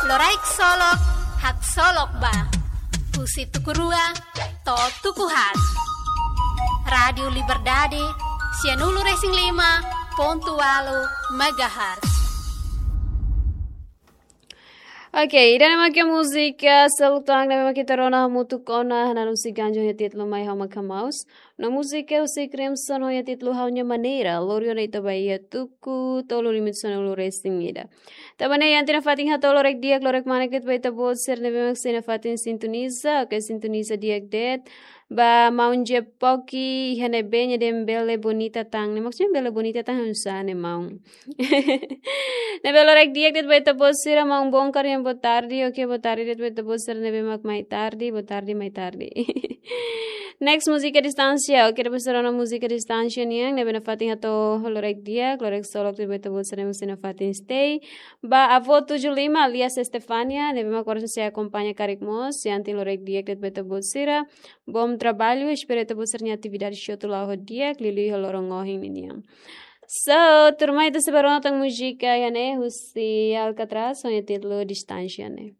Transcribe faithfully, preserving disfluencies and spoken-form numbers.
Loraik Solok, haksolok ba. Husi tuku rua to'o tuku haat. Rádiu Liberdade, sianulu-resin-lima pontu ualu megahertz. Oke, ida-ne'e mak múzika seluk tan ne'ebé mak ita rona hamutuk ona, Hananu Siganjo ho títulu Mai Ha'u Mak Hamaus. No múzika husi Crimson ho títulu Ha'u-nia Maneira, lori ona ita ba iha tuku tolu limitu sanulu-resin-ida. Tanba ne'e, iha ita-nia fatin hato'o loraik di'ak, loraik kmanek de'it ba ita-boot sira ne'ebé mak sei nafatin sintoniza, oke, sintoniza di'ak de'it. Ba maun Jepoki, iha ne'ebé nia dehan bele bonita tan. Ne'e maksudnya bele bonita tan hanesan ne'e maun. Ne'ebé loraik di'ak de'it ba ita-boot sira, maun Bongkar nian boa tarde, oke, boa tarde de'it ba ita-boot sira ne'ebé mak mai tarde, boa tarde, mai tarde. Next, múzika Distánsia. Oke, depois rona múzika Distánsia nian, ne'ebé nafatin hato'o loraik di'ak, loraik solok de'it ba ita-boot sira ne'ebé sei nafatin stay. Ba avó tujuh lima alias Estefania, ne'ebé mak agora sei akompaña karik mós, iha ita-nia loraik di'ak de'it ba ita-boot sira. Bom trabalho, espera ita-boot sira-nia atividade hotu la'o ho di'ak, liuliu iha loron ohin ninian. So, tuirmai ita sei bá rona tan múzika iha ne'e, husi Alcatraz, ho títulu Distánsia ne'e.